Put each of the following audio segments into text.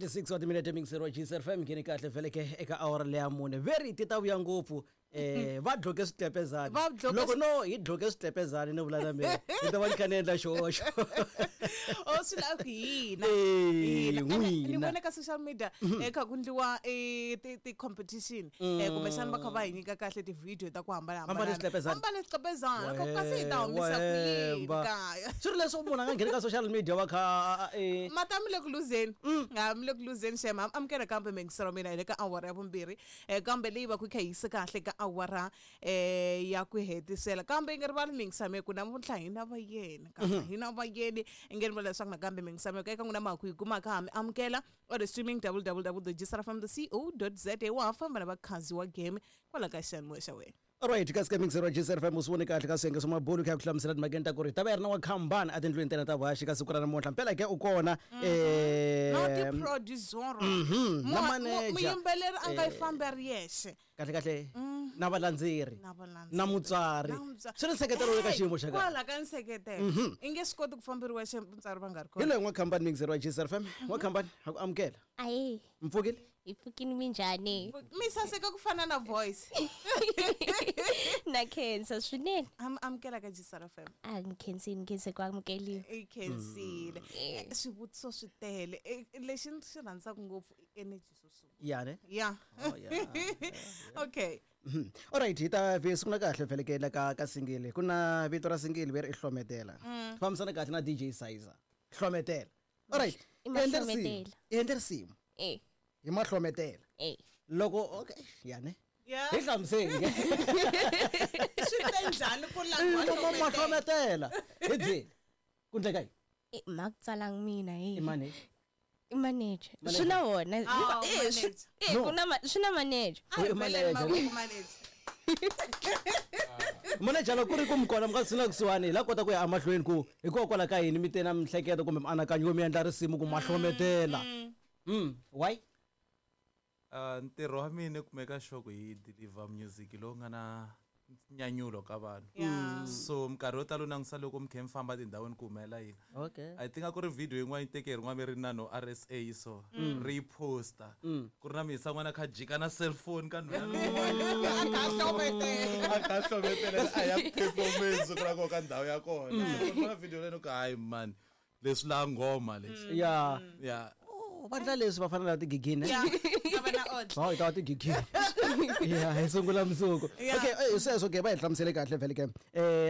36 wa timinete mixer wa GCR FM ngheni kahle vhele ke eka awara leya mune veri ti ta vuya ngopfu va dloke switlepezani Va dloke loko no hi dloke switlepezani ni vula na mina ni ta va ni kha ni endla xihoxo O swi lava ku hina. Eh, Hina. Ene, ni n'wina. vone ka social media kha ku ndliwa ti-competition kumbexana va kha va hi nyika kahle ti-video ta ku Ambale hambanahambana switlepezani. ambale switlepezana Ka- kasi hi ta humisa ku yini Wemba. kaya swi ri leswi munhu a nga ngheni ka social media va kha mata mi le ku luzeni ha mi le ku luzeni xem amukela kambe mingiselo mina hi le ka awara ya vumbirhi kambe leyi va ku yi kha yi yise kahle ka awara ya ku hetisela kambe yi nga rivali mingisameko namuntlha hi na vayeni kambe hi na vayeni i nge rivali leswaku nakambe mingisameko eka n'wina maku yi kumaka ha mi amukela or streaming www gsrfm co za wa ha famba na vakhazi wa game kwala ka xiyanimoya xa wena. Alright, kasi ka mixer wa GCR FM u swi vone kahle ka swiyenge swa mabulu kha ku hlamusela timhakeni ta ku ri ta va yi ri na wa khambani etindlwini tena ta vuhaxi ka siku ra namuntlha mpela ke u kona Na ti-producer na manager. Muyimbeleri a nga yi fambi a ri yexe. Kahle kahle na valandzeri Na valandzeri. na mutswari Na mutswari. swi ri nseketelo le ka xiyimo xa kahle. Kwala ka nseketelo i nge swi koti ku famberiwa xe mutswari va nga ri Hi kona. loyi n'wakhambani mixer wa GCR FM n'wakhambani ha ku amukela. Ahe. Mpfukile. Hi pfukini minjhani? Mi saseka ku fana na voice. Na khensa swinene. Amukela ka Gsr FM. A ni khensini khense ku amukeliwa. I khensile. Swivutiso swi tele. Lexi ni xi rhandzaka ngopfu i energy swo sungula. Ya ne. Ya. Oh, yeah, Okay. Alright, hi ta vi sungula kahle vhele ke la ka singili ku na vito ra singili veri i hlometela fambisana kahle na DJ Sizer hlometela. Alright. I i endle risimu. mahlometela. I endle risimu Eh, hi mahlometela eh. loko okay ya ne Ya. hi hlamuseli ke. Swi te njhani ku langiwa mahlometela hi byeli ku ndleka yini? Eh, ma ku tsalangi mina i he. mani? I manager. Swi na wona. Ah, Eh, manager. No. ku na swi na manager. A hi I beleni manager. mavoko manager. Manager loko ku ri ku mi kona mi nga swi na kusuhani hi la kota ku ya emahlweni ku hikokwalaho ka yini mi te na mihleketo kumbe mianakanyo yo mi endla risimu ku mahlometela why? Ntirho wa mina i ku make sure ku hi deliver music lowu nga na nyanyulo ka vanhu. So minkarhi yo tala u langutisa loko mi kha mi famba tindhawini ku humelela yini. Okay. I think a ku ri video yin'wana yi teke hi rin'wana ri na no RSA so ri yi posta ku ri na mihisa n'wana kha jika na cellphone ka nhwena A kha a hlometela. a kha a hlometela a ya performance ku ra koho ka ndhawu ya kona. So ku na video leyi ni ku hayi man leswi la nghoma leswi. Ya. Ya. Oh, va ndla leswi va fana na tigigini. Ya. A va na order. Hayi ta tigigini ya hi sungula mundzuku. Okay, sweswo ke va hi hlamusele kahle vhele ke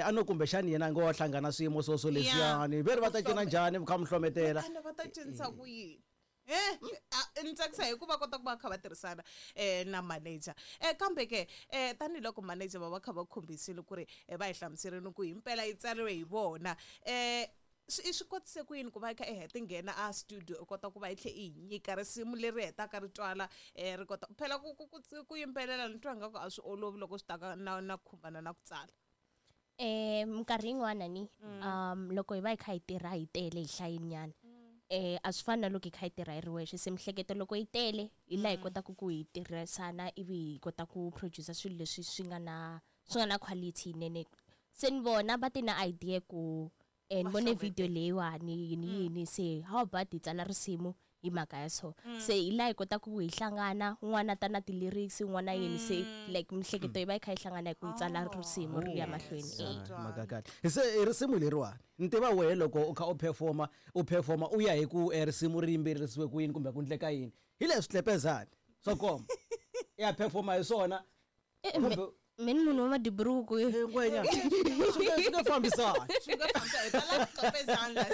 a no kumbexani yena a ngo wa hlangana swiyimo swo swo leswiyani ve ri va ta cina njhani mi kha mi hlometela. Ana va ta cinisa ku yini? Ni tsakisa hi ku va kota ku va kha va tirhisana na manager. Kambe ke tanihiloko manager va va kha va khumbisile ku ri va hi hlamuserile ku himpela yi tsariwe hi vona. Swi swi kotise ku yini ku va i kha i heta nghena a studio i kota ku va i tlhe i hi nyika risimu leri hetaka ri twala ri kota phela ku ku ku ku yimbelela ni twa ngaku a swi olovi loko swi ta ka na khumbana na ku tsala. Minkarhi yin'wana ni loko hi va hi kha hi tirha hi tele hi hlayinyana. A swi fani na loko hi kha hi tirha hi ri wexe se mihleketo loko yi tele hi laha hi kotaka ku hi tirhisana ivi hi kota ku producer swilo leswi swi nga na quality yinene. Se ni vona va ti na idea ku ni vone video leyiwani yini yini se how about hi tsala risimu hi mhaka ya so. Se hi laha hi kotaka ku hi hlangana un'wana ta na ti-lyrics un'wana yini se like mihleketo yi va yi kha yi hlangana hi ku hi tsala risimu ri ya mahlweni. Mhaka kahle se i risimu leriwani ni tiva wehe loko u kha u performa u performa u ya hi ku risimu ri yimbelelisiwe ku yini kumbe ku ndleka yini hi leswi tlepezani swo koma i ya performa hi swona. Kumbe Me ni munhu wa madiburuku. Ngwenya swi nge fambisani. Swi nga fambisa hi tala ku tlepezana la.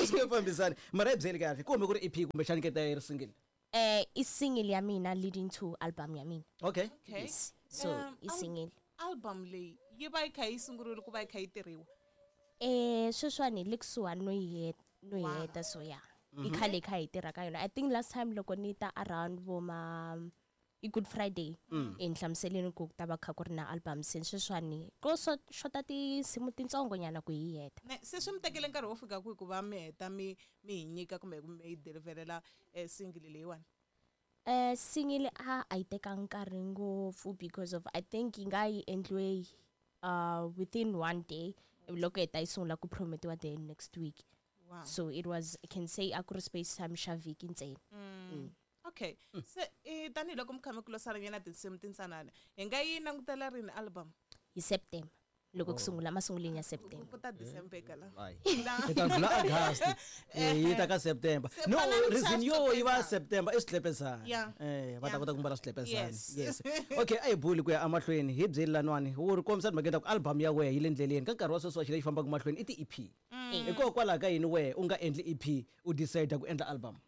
Swi nge fambisani mara hi byeli kahle kumbe ku ri EP kumbexani ke ta yi ri single. I single ya mina leading to album ya mina. Okay. Okay. Yes. So i single. Album leyi yi va yi kha yi sungurile ku va yi kha yi tirhiwa. Sweswiwani hi le kusuhani no yi heta so ya. I khale kha hi tirha ka yona. I think last time loko ni ta around vo ma i Good Friday ni hlamuseleni ku ta va kha ku ri na album se sweswiwani ko xota tinsimu tintsongo nyana ku hi heta. Se swi mi tekele nkarhi wo fika kwihi ku va mi heta mi hi nyika kumbe mi yi deliverela single leyiwani? Single a yi teka nkarhi ngopfu because of I think yi nga yi endliwe within one day loko heta yi sungula ku promotiwa the next week. Wow. So it was, I can say, a ku ri space time xa vhiki ntsena. Okay, se tanihiloko mi kha mi kulosaranyana tinsimu tintsanana, hi nga yi langutela rini album? Hi September, loko ku sungula, masunguleni ya September. Ku ta December eka la. Hayi. Hi ta ndlula August. Yi ta ka September. Se No, pfalani reason swa yo yi va switlepezana. September i switlepezana. Va ta Yeah. kota ku mbala switlepezana. Yes. Yes. Okay, a hi buli ku ya emahlweni hi byeli lanwani wu ri kombisa timhaka ta ku album ya wehe yi le ndleleni ka nkarhi wa sweswi wa xi lexi fambaka mahlweni i ti-EP. Hikokwalaho ka yini wehe u nga endli EP, u decide ku endla album?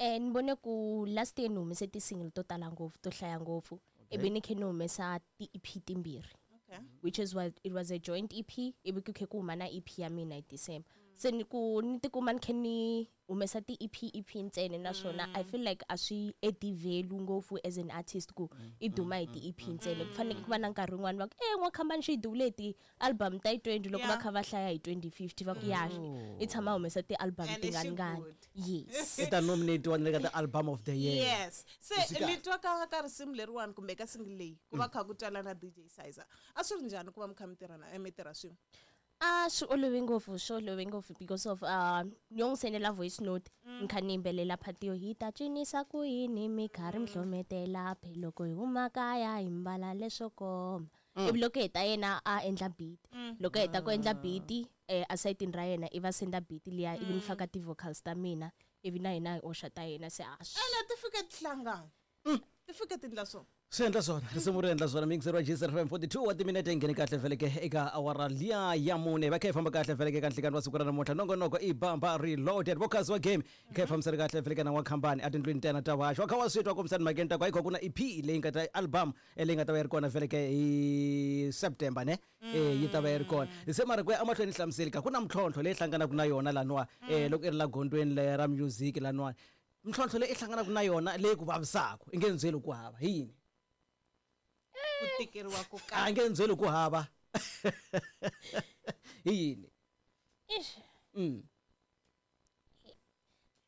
Ni vone ku last year ni humese ti-single to tala ngopfu, to hlaya ngopfu, ivi ni khe ni humesa ti-EP timbirhi, which is what it was, a joint EP, ivi ku khe ku huma na EP ya mina hi December. Se ni ku ni tikuma ni khe ni humesa ti-EP EP ntsena, naswona I feel like a swi add value ngopfu as an artist ku i duma hi ti-EP ntsena. Ku fanele ku va na nkarhi wun'wani va ku e n'wakhambani xi yi duvule hi ti-album ta yi 20, loko va kha va hlaya hi 2050 va ku ya i tshama humesa ti-album And xi tinganingani. good. Yes. I ta nominatiwa na le ka ti-album of the year. Yes, se Swi kahle. ni twa ka risimu leriwani kumbe ka single leyi ku va kha ku twala na DJ Sizer, a swi ri njhani ku va mi kha mi tirha na mi tirha swin'we? A swi olove ngopfu, swi olove ngopfu because of ni yo n'wi sendela voice note, ni kha ni yimbelela phati yo hi ta cinisa ku yini, mi karhi mi hlometela phe, loko hi huma kaya hi mbala leswo koma. Ivi loko heta yena a endla beat, loko a heta ku endla beat, asayitini ra yena i va senda beat liya, ivi ni faka ti-vocals ta mina, ivi na hina hi oxa ta yena, se a swi Ene ti fike ti hlangana, ti fike ti endla swona. Swi endla swona, risimu ri endla swona. Miyingiseri wa JSFM, 42 wa timinete yi nghene kahle veleke eka awara liya ya mune, va kha hi famba kahle veleke ka nhlikani wa siku ra namuntlha. Nongonoko i Bamba Reloaded, vokasi wa game hi kha hi fambisana kahle veleke na n'wakhambani etindlwini ta yena ta vaxo wa kha wa swi twa kombisani mhakeni ta ku hayi kho ku na EP leyi nga ta album leyi nga ta va yi ri kona veleke hi September ne. Yi ta va yi ri kona. Se mara ku ya emahlweni hlamuseli ka ku na mintlhontlho leyi hlanganaka na yona laniwa, loko i ri la gondzweni le ra music laniwani, mintlhontlho leyi i hlanganaka na yona leyi ku vavisaka i nge ni byeli ku hava hi yini? Ku tikeriwa ku A karhi. nge ni byeli ku hava hi yini? Ish.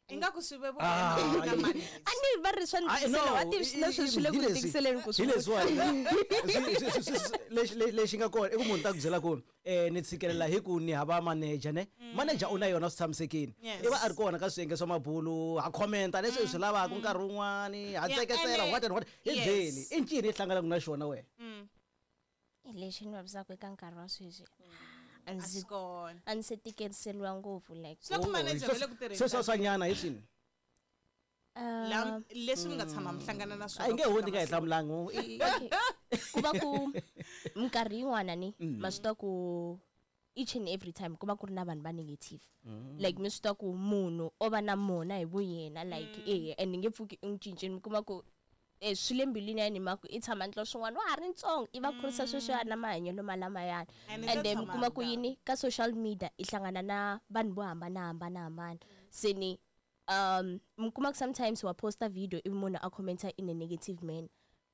Ingaku swi vevuka Ah, na yi- manager. A ni va ri swa ni Ai, no, tikisela, wa ti na sweswi swi le hi ku leswi- tikiseleni ku hi swi leswiwani. Lexi nga kona i ku munhu ta ku byela ku ni tshikelela hi ku ni hava manager ne. Manager u na yona swi tshamisekile. Yes. I va a ri kona ka swiyenge swa mabulu, ha commenta leswi hi swi lavaka nkarhi wun'wani, ha Yeah, tseketsela ene- what and what. Hi Yes. byeli i ncini i hlanganaka na xona wena? Lexi ni vavisaka eka nkarhi wa sweswi, a A ndzi swi kona. a ndzi se tikiseliwa ngopfu like Swi la ku manager va le ku tirheni. Sweswo swanyana hi swini? Leswi mi nga tshama mi hlangana na swona A yi nge ku hundzi fika nga hi masiku. hlamulanga. Okay. Ku va ku minkarhi yin'wana ni ma swi tiva ku each and every time ku va ku ri na vanhu va negative, like mi swi tiva ku munhu o va na mona hi vuyena, like and ni nge pfuki i n'wi cincini, mi kuma ku swi le mbilwini ya yena, hi mhaka ku i tshama ndla swin'wana wa ha ri ntsongo, i va kurisa sweswiya na mahanyelo malamayani. And i And ta then mi tshama kuma a ku ri yini ka social media i hlangana na vanhu vo hambanahambana, se ni mi kuma ku sometimes wa posta video ivi munhu a commenta in a negative manner,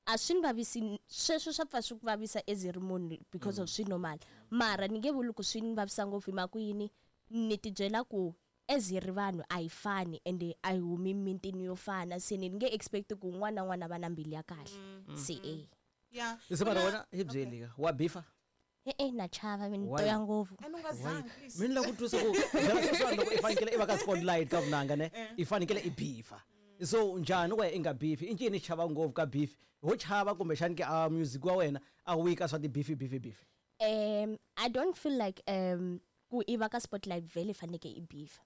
a swi ni vavisi sweswo, swa pfa swi ku vavisa as i ri munhu because of swi normal, mara ni nge vuli ku swi ni vavisa ngopfu, hi mhaka ku yini, ni tibyela ku as hi ri vanhu a hi fani ende a hi humi mitini yo fana, se ni nge expect ku un'wana na un'wana a va na mbilu ya kahle, se e. Yeah. Se mara Ku na- wena hi byeli ka wa bifa? E-e, na chava mi ni Why? toya ngopfu. And u nga zangi, please. Mi ni lava ku twisa ku phela sweswiwani loko i fanekele i va ka spotlight ka vunanga ne, i fanekele i bifa, so njhani wehe i nga bifi? I ncini i chava ngopfu ka beef? Ho chava kumbexani ke a music wa wena a wu yi ka swa ti-beefi beefi beefi? I don't feel like ku i va ka spotlight vhele faneke i beef.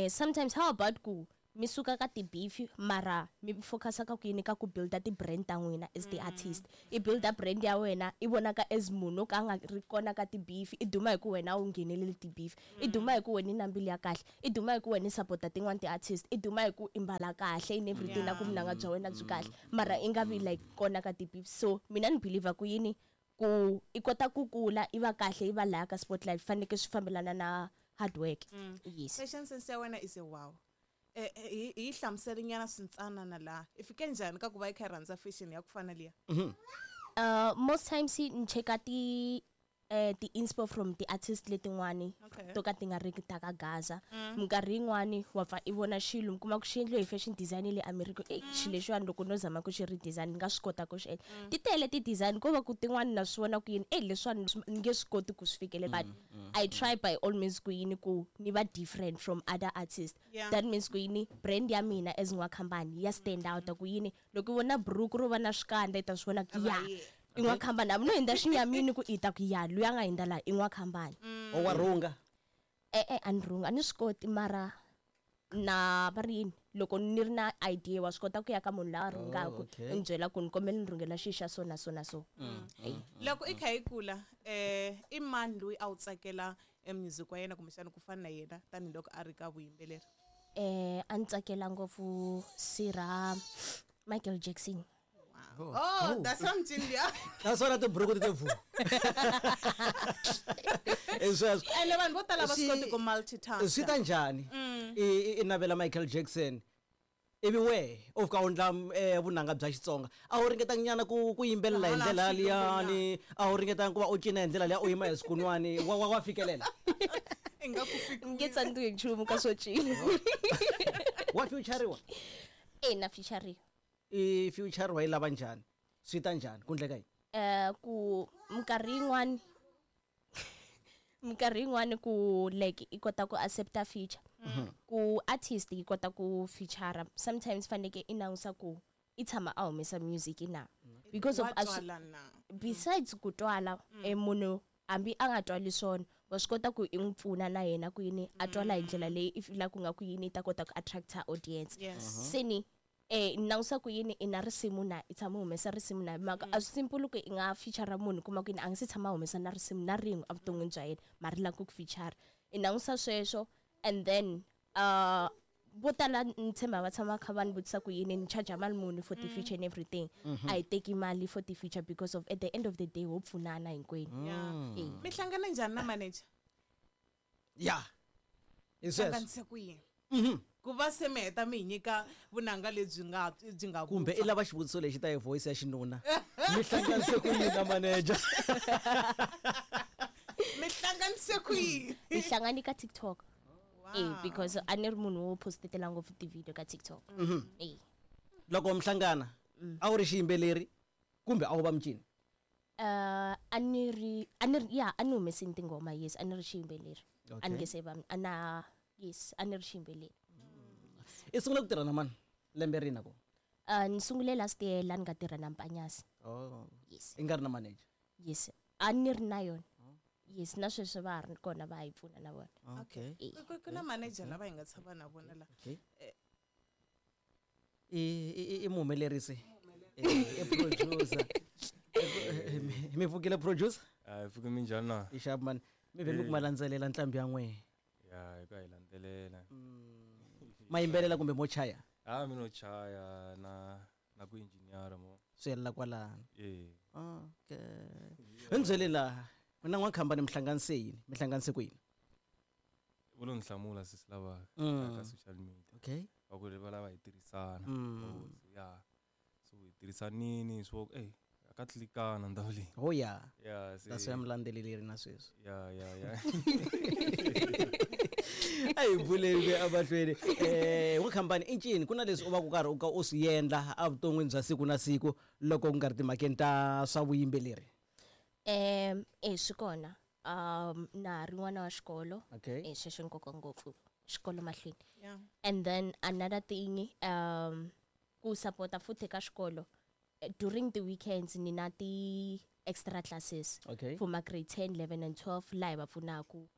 Sometimes how about ku mi suka ka ti-beef, mara mi focusa ka ku yini, ka ku builda ti-brand ta n'wina as ti-artist. I builda brand ya wena, i vonaka as munhu o ka a nga ri kona ka ti-beef, i duma hi ku wena a wu ngheneleli ti-beef, i duma hi ku wena i na mbilu ya kahle, i duma hi ku wena i sapota tin'wani ti-artist, i duma hi ku i mbala kahle in everything, na ku vunanga bya wena byi kahle, mara i nga vi like kona ka ti-beef. So mina ni believer ku yini, ku i kota ku kula i va kahle, i va laya ka spotlight, faneke swi fambelana na hard work. Yes. Fashion sense ya wena is a wow. Hi hlamuseli nyana swintsanana laha i fike njhani ka ku va i kha i rhandza fashion ya ku fana liya? Most times ni cheka ti ti-inspo from ti-artist letin'wani to ka ti nga riki ta ka Gaza. Minkarhi yin'wani wa pfa i vona xilo mi kuma ku xi endliwe hi fashion design le America, xilo lexiwani loko no zama ku xi redesign ni nga swi kota ku xi endla. Ti tele ti-design ko va ku tin'wani na swi vona ku yini leswiwani ni nge swi koti ku swi fikelela, but I try by all means ku yini ku ni va different from other artists. That means ku yini brand ya mina as N'wakhambani ya stand out ku yini loko i vona buruku ro va na swikandza i ta swi vona ku ya i N'wakhambani, hambi no hundza xinyamini ku i ta ku ya luya nga hundza laha i N'wakhambani. O wa rhunga? A ni rhunga, a ni swi koti mara na va ri yini loko ni ri na idea wa swi kota ku ya ka munhu loyi a rhungaka i ni byela ku ni kombela ni rhungela xi xa so na so na so. Loko i kha i kula i mani loyi a wu tsakela music wa yena kumbexana ku fana na yena tanihiloko a ri ka vuyimbeleri? A ni tsakela ngopfu sirha Michael Jackson. Oh, that's something yeah. That's what the buruku ti vu. Sweswo. Ene vanhu vo tala va swi koti ku multitask. Swi ta njhani? I navela Michael Jackson. Ivi we u fika u endla vunanga bya Xitsonga. A wu ringetanga nyana ku yimbelela hi ndlela liyani, a wu ringetanga ku va u cina hi ndlela liya u yima hi swikunwani, wa fikelela. Nge tsandziwi nchumu ka swo cina. Wa feature-iwa? Na feature-iwa. I future wa yi lava njhani? Swi ta njhani? Ku endleka yini? Ku minkarhi yin'wani ku like i kota ku accepta feature. Ku artist yi kota ku feature sometimes faneke i langusa ku i tshama a humesa music na. Because of besides ku twala munhu hambi a nga twali swona wa swi kota ku i n'wi pfuna na yena ku yini a twala hi ndlela leyi i feel ku nga ku yini i ta kota ku attracta audience. Seni langusa ku yini i na risimu na i tshama humesa risimu na mhaka a swi simple ku i nga feature munhu kuma ku yini a nga se tshama humesa na risimu na rin'we evuton'wini bya yena mara ri lava ku feature. I langusa sweswo and then vo tala ni tshemba va tshama kha va ni vutisa ku yini ni charge mali muni for the feature and everything. A hi teki mali for the feature because of at the end of the day ho pfunana hinkwenu. Mi hlangana njhani na manager? Yeah. Hlanganise ku yini? Ku va se mi heta mi hi nyika vunanga lebyi nga byi nga kumbe i lava xivutiso lexi ta hi voice ya xinuna. Mi hlanganise ku yini na manager? Mi hlanganise ku yini? Mi hlangani ka TikTok. Because a ni ri munhu wo postetela ngopfu ti-video ka TikTok. Loko mi hlangana a wu ri xiyimbeleri kumbe a wu va mucini? A ni ri ya a ni humesini tinghoma, yes, a ni ri xiyimbeleri. A ni nge se va ana yes, a ni ri xiyimbeleri. I sungule ku tirha na mani lembe rini ko? Ni sungule last year la ni nga tirha na Mpanyasi. Yes. I nga ri na manager? Yes, a ni ri na yona. Yes, na sweswi va ha ri kona va hi pfuna na vona. Okay. Ku na manager lava hi nga tshama na vona la. I muhumelerisi. I producer. Mi pfukile producer? A hi pfuki minjhani na? I xap man. Mi vhe mi ku ma landzelela ntlhambi ya n'wehe. Ya, hi ku hi landzelela. Ma yimbelela kumbe mo chaya? Mi no chaya na ku engineer mo. Swi helela kwalano. Okay. Hi ni byele laha na N'wakhambani mi hlanganise yini? Mi hlanganise ku yini? Vo lo ni hlamula sesi lava ka social media. Okay. Va ku va lava hi tirhisana. Ya. So hi tirhisanini swo ka tlikana ndhawu leyi. Oh yeah. Yeah, that's why mi landzeleleri na sweswi. Yeah. A hi buleni emahlweni. N'wakhambani i ncini ku na leswi u va ku karhi u ka u swi endla evuton'wini bya siku na siku loko ku nga ri timhakeni ta swa vuyimbeleri? Swi kona. Na ri n'wana wa xikolo. Sweswo nkoka ngopfu xikolo mahlweni. And then another thing ku support-a futhi ka xikolo during the weekends ni na ti extra classes for my grade 10, 11 and 12 laha va pfunaku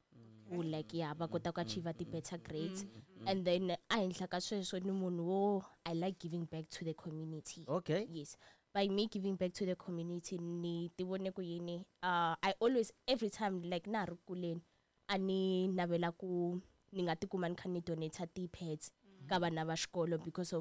ku like ya va kota ku achieve ti better grades. And then a henhla ka sweswo ni munhu wo I like giving back to the community. Okay. Yes. By me giving back to the community ni ti vone ku yini I always every time like na ri kuleni a ni navela ku ni nga tikuma ni kha ni donate ti pads ka vana va xikolo because of